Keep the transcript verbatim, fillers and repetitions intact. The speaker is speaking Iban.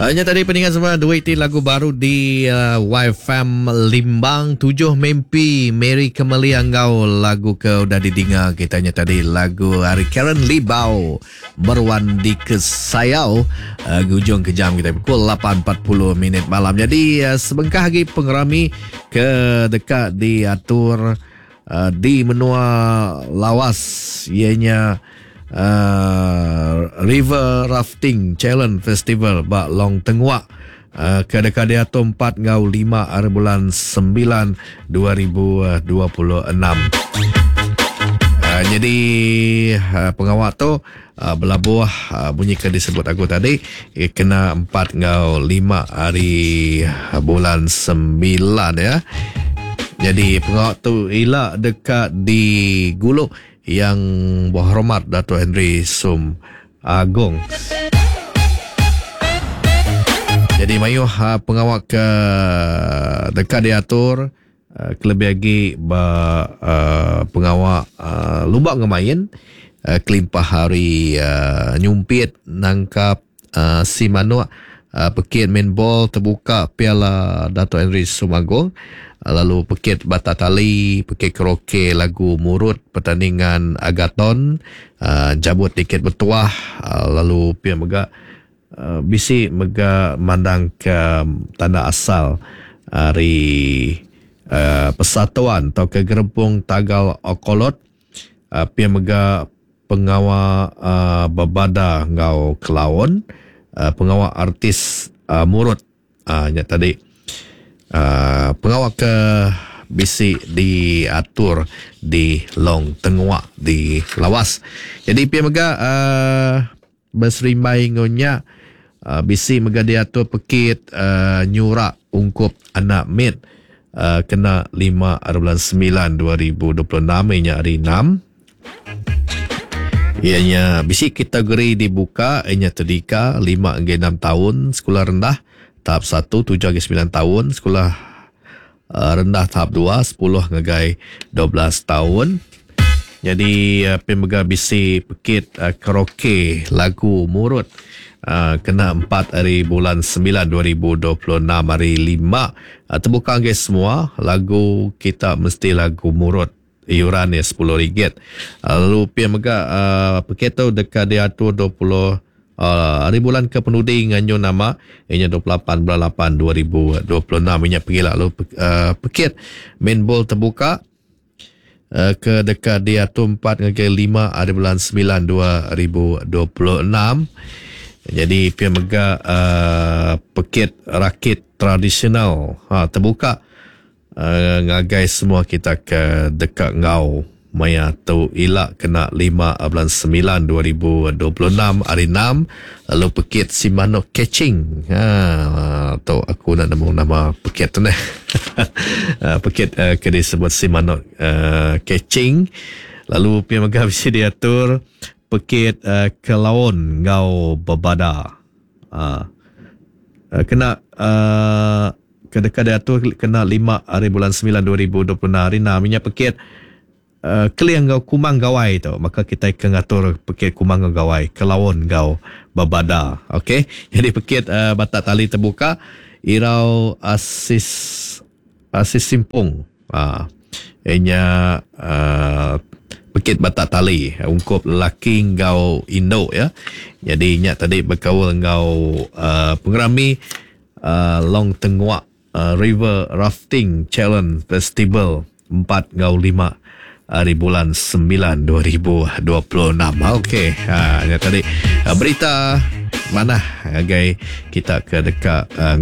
Nya tadi peninga semua dua iti lagu baru di uh, Y F M Limbang, Tujuh Mimpi Mary Kemelia enggau lagu ke udah didinga kita nya tadi, lagu ari Karen Libau, Meruan di Kesayau. uh, Gujung ke jam kita pukul lapan empat puluh minit malam. Jadi uh, sebengkah lagi pengerami ke deka diatur uh, di menua Lawas ianya uh, River Rafting Challenge Festival ba Long Tenguak uh, ke deka diatur empat enggau lima hari bulan sembilan dua ribu dua puluh enam. Uh, jadi uh, pengawal tu uh, belabuh uh, bunyi ke disebut aku tadi eh, kena empat enggau lima hari bulan sembilan ya. Jadi pengawal tu ila dekat di Guluk Yang Berhormat Dato' Henry Sum Agong. Jadi mayuh uh, pengawal ke dekat diatur uh, kelebih lagi ba uh, pengawal uh, lumba ngemain uh, kelimpah hari uh, nyumpit nangkap uh, si manuk, uh, pekit main ball terbuka Piala Dato' Henry Sumagong, uh, lalu pekit batak tali, pekit karaoke lagu murut, pertandingan agaton, uh, jabut tiket bertuah, uh, lalu pihak mega uh, bisi mega mandang ke tanda asal hari uh, persatuan atau ke gerempung Tagal Okolot, uh, pihak mega pengawal uh, berbada ngau kelaun, uh, pengawal artis uh, murut. uh, nya tadi uh, pengawal ke bisi diatur di Long Tenguak di Lawas. Jadi pihak mega uh, berserimbai ngonya uh, bisi mega diatur pekit uh, nyurak ungkup anak mit uh, kena lima bulan sembilan dua ribu dua puluh enam inya hari enam. Ianya bisi kategori dibuka ianya tadika lima hingga enam tahun, sekolah rendah tahap satu tujuh hingga sembilan tahun, sekolah uh, rendah tahap dua sepuluh hingga dua belas tahun. Jadi uh, pemega bisi pekit uh, karaoke lagu murut uh, kena empat hari bulan sembilan dua ribu dua puluh enam hari lima, uh, terbuka guys semua, lagu kita mesti lagu murut, iuran ya sepuluh ringgit. Uh, lalu pia mega uh, pekit tu dekat diatur dua puluh Uh, hari bulan ke penudi nganyu nama inya dua puluh lapan bulan lapan dua ribu dua puluh enam inya pergi lalu uh, pekit main ball terbuka uh, ke dekat diatur empat hingga lima hari bulan sembilan dua ribu dua puluh enam. Jadi pia mega uh, pekit rakit tradisional, ha, terbuka uh, ngagai semua kita ke dekat ngau maya tu ila kena lima bulan sembilan dua ribu dua puluh enam hari enam. Lalu pekit Simano Catching, ha, tu aku nak nemu nama pekit tu ni. Ha, pekit uh, ke disebut Simano uh, Catching. Lalu pia mega bisi diatur pekit uh, kelaun ngau bebada, uh, uh, kena uh, kedekat diatur kena lima hari bulan sembilan dua ribu dua puluh enam hari enam inya pekit uh, Keling ngau Kumang Gawai tu. Maka kita akan ngatur pekit Kumang ngau Gawai, kelaun ngau babada. Okey, jadi pekit uh, batak tali terbuka Irau Asis Asis Simpung, ah uh, inya uh, pekit batak tali ungkup lelaki ngau induk ya. Jadi nya tadi berkaul ngau uh, pengerami uh, Long Tenguak uh, River Rafting Challenge Festival empat ngau lima hari bulan sembilan dua ribu dua puluh enam. Okey, ha, ya tadi berita mana agai kita ke dekat uh,